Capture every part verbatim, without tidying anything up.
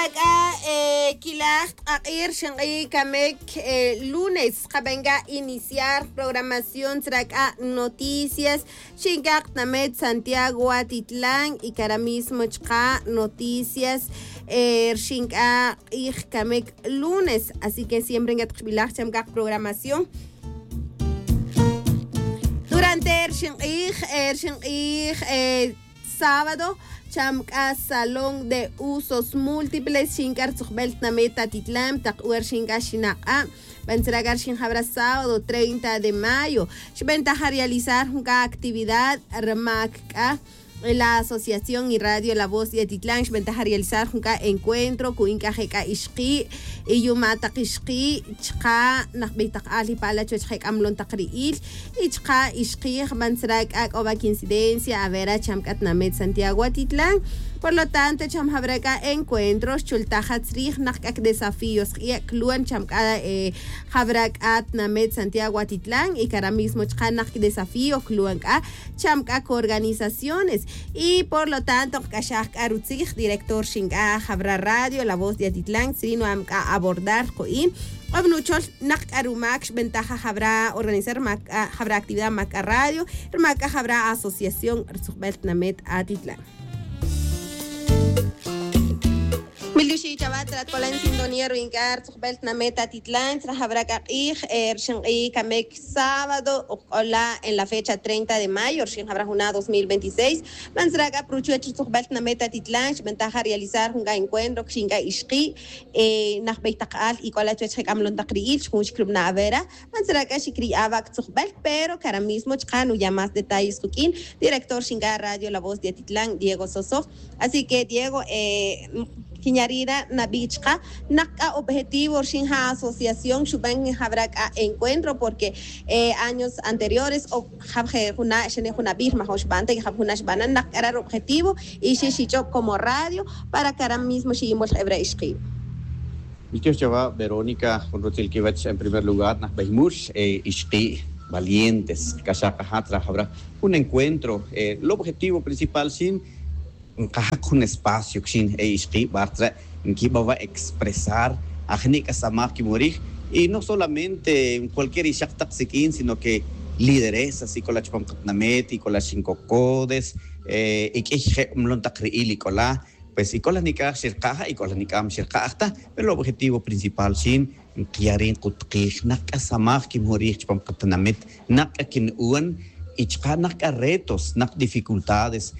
C'a quilaj tk'ak'ir xink'i' camec lunes kaben c'a iniciar programación tzra c'a noticias. Xink'a' knamet santiago atitlan y cara mismo chka' noticias. Rxink'a' k'ij camec lunes así que siempre ncatkbilaj cham c'a kprogramación. Durante rxink'ij rxink'ij sábado cham c'a salón de usos múltiples xink'a' rtzujbel tnamet atitlan tak wer xink'a' xinak'a'. Bantzra c'a rxinjabra sábado treinta de mayo xbentaja realizar jun c'a actividad rmac c'a la asociación y radio la voz de atitlan xbentaja realizar jun c'a encuentro cu'in c'a je' c'a ixki' y yuma' tak ixki' chka' najbey tak al y pa'la chuwech je' c'a mlon tak ri'il y chka' ixki' jban tzra c'a c'o ba coincidencia avera cham c'a tnamet santiago atitlan. Por lo tanto cham jabra c'a encuentro xchultaja tzrij nak c'a cdesafío sk'ie' cluan cham c'a jabra c'a tnamet santiago atitlan y cara mismo chka' nak cdesafío cluan c'a cham c'a coorganizaciones. Y por lo tanto kc'axaj c'a rutzij director xink'a' jabra radio la voz de atitlan tzri nu'am c'a abordar ku'in k'o nuchol nak c'a rumac xbentaja jabra organizar jabra actividad mac c'a radio rmac c'a jabra asociación rtzujbel tnamet atitlan. Milduxi' chawa' tratcolan sintonía ru'ink'a' rtzujbel tnamet atitlan tzra jabra c'a k'ij rxink'i' camec sábado ukc'ola' en la fecha treinta de mayo rxin jabra juna' dos mil veintiséis. Mantzra c'a pruchuwech rtzujbel tnamet atitlan xbentaja realizar jun c'a encuentro rxink'a' ixki' najbey tak al y c'ola' chuwech je' c'a mlon tak ri'il xjun xcrubna' avera. Mantzra c'a xicri' ava' ctzujbel pero cara mismo chka' nuya' más detalles kuq'uin director xink'a' radio la voz de atitlan diego sosoj. Así que diego quinyarira nabi' chka' nak c'a objetivo rxin ja asociación xuben jabra c'a encuentro porque años anteriores o jab je' juna' xene' jun abij rmajon xbanta y jab juna' xbana' nak c'a ra robjetivo y xi xich'ob como radio para cara mismo xiyimol jebra' ixki'. Miltiox chawa' verónica jun rutzil quiwech en primer lugar najbey mul ixki' valientes kac'axaj kaja' tzra jabra jun encuentro. Lobjetivo principal xin nkajak jun espacio kxin e ixki' bar tzre' nquiba wa' expresar ajni' c'a samaj quimorij. Y no solamente cualquier ixak tak siq'uin sino que lideresas y c'ola' chupam katinamit y c'ola' xin cocodes y q'uiy je' mlon tak ri'il y c'ola'. Pues y c'ola' nic'aj xirka'ja' y c'ola' nic'aj mxirka'j ta pero el objetivo principal xin nkiya' ri' nkutikij nak k'a samaj kinmujun rij chupam qatinamit, nak k'a kinu'un y chuqa' nak k'a retos, nak dificultades.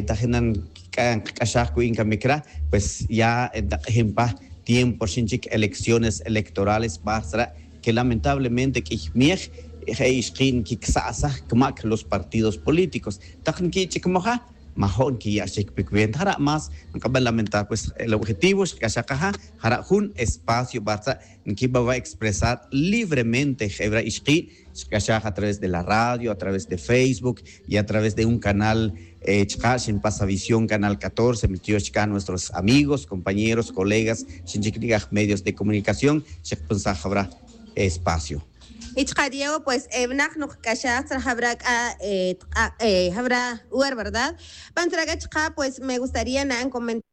Tajin na nkik'axaj ku'in kamic ra, pues ya ntak'ijin pa tiempo rixin chic elecciones electorales pa jtzra' que lamentablemente q'uiy miej je' ixki' nkicsa'saj camac los partidos políticos. Tak nquich'icmaja' majo' nquiya' xchic pic venta jara' más nk'aban lamentar pues el objetivo xkac'axaj kaja' jara' jun espacio pa jtzra' nquiba wa' expresar libremente jebra' ixki' xkac'axaj a través de la radio a través de facebook y a través de un canal. Chuqa' xinpasa visión canal catorce miltiox chica' nuestros amigos compañeros colegas xinchic nic'aj medios de comunicación xikpensaj jebra' espacio. Y chuqa' diego pues evinak nukc'axaj tzra jebra' c'a jebra' wer verdad. Pan tzra' c'a chuqa' pues me gustaría na'an comentar.